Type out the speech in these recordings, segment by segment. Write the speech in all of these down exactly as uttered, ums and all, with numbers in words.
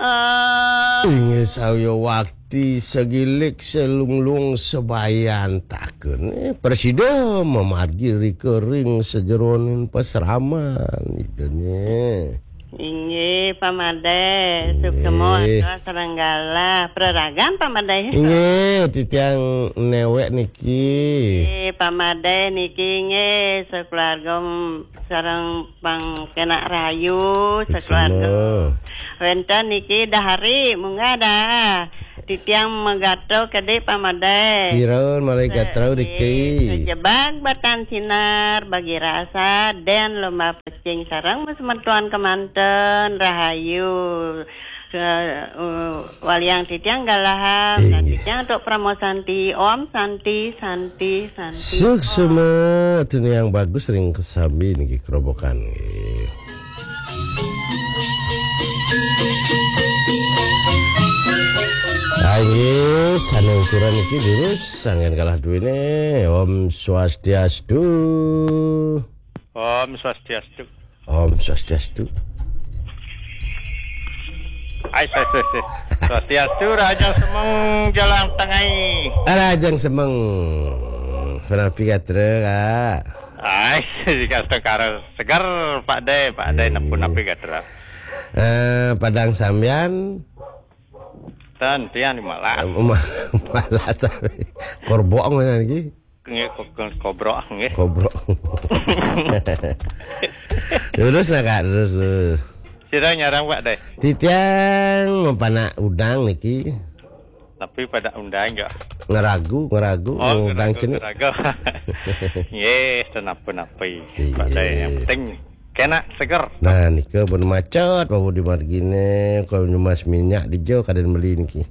Inggih, saya wakti segilik selunglung sebayan taken. Eh, presida mamargi rika ring sajeroning pasraman. Ida nya. Inggih, Pak Madé, suksema. Inggih. Sareng galah. Praragan, Pak Madé. Inggih, titiang néwék niki. Inggih, Pak Madé niki inggih, sakeluarga sareng pangkénak rahayu, sakeluarga. Suksema. Wénten niki dahari, munggah dah. Titiang magatra kedé, Pak Madé. Pira malih gatra niki? Sejebag batan sinar, bagi rasa, dén lomba pecing sareng semeton kemanten, rahayu. Ke, uh, waliang titiang galahang, dan titiang untuk Parama Santi. Om Santi, Santi, Santi. Suksema, tuni yang bagus ring kesambi niki kerobokan nggih. Ah, inggih, sané ukuran niki durus, sanggan kalah duwéné. Om Swastiastu. Om Swastiastu. Om Swastiastu. Ai, ai, ai, ai. Swastiastu, Rahajeng Semeng, Jalan Tengai. Rahajeng Semeng. Punapi gatra, Kak? Ai, dikastengkara seger, Pak Dé, Pak Dé, iya, napi-napi gatra. Eh, Padang sambian? Ten, tiang di malah. Eh, ma-, malah sambian. Korbok mana lagi? Nggih, ko-, ko-, kobrok, nggih. Kobrok. Terus lah, Kak, terus, terus. Sira nyarang, Pak Dé? Titiang mapanak udang niki. Tapi pada undang ya. Ngeragu, ngeragu, oh, ngeragu, ngeragu. Nggih, ten apa-apa. Iya. Pak Dé, yang penting kena seger. Nah, nika pun macet, Pak Budi Margine, kalau nyemas minyak di jo, kadén beli niki.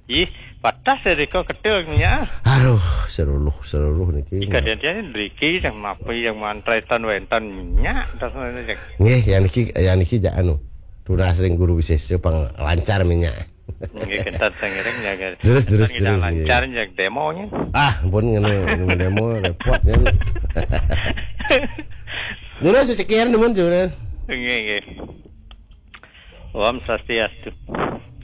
Ih, patah sedika ketul minyak. Aduh, seluruh, seluruh niki. Ika dia, dia driki yang mapi yang mantrai tan wentan minyak, tas mana, Cek? Nggih, yang niki, yang niki jak anu. Tunas ring guru wisesa pang lancar minyak. Nggih, kentan sangiring ya, guys. Terus, terus, terus, lancar ya demonya. Ah, pun ngene, ngene demo repot ya. Terus cekian demen, Jun. Nggih, nggih. Om Swastiastu.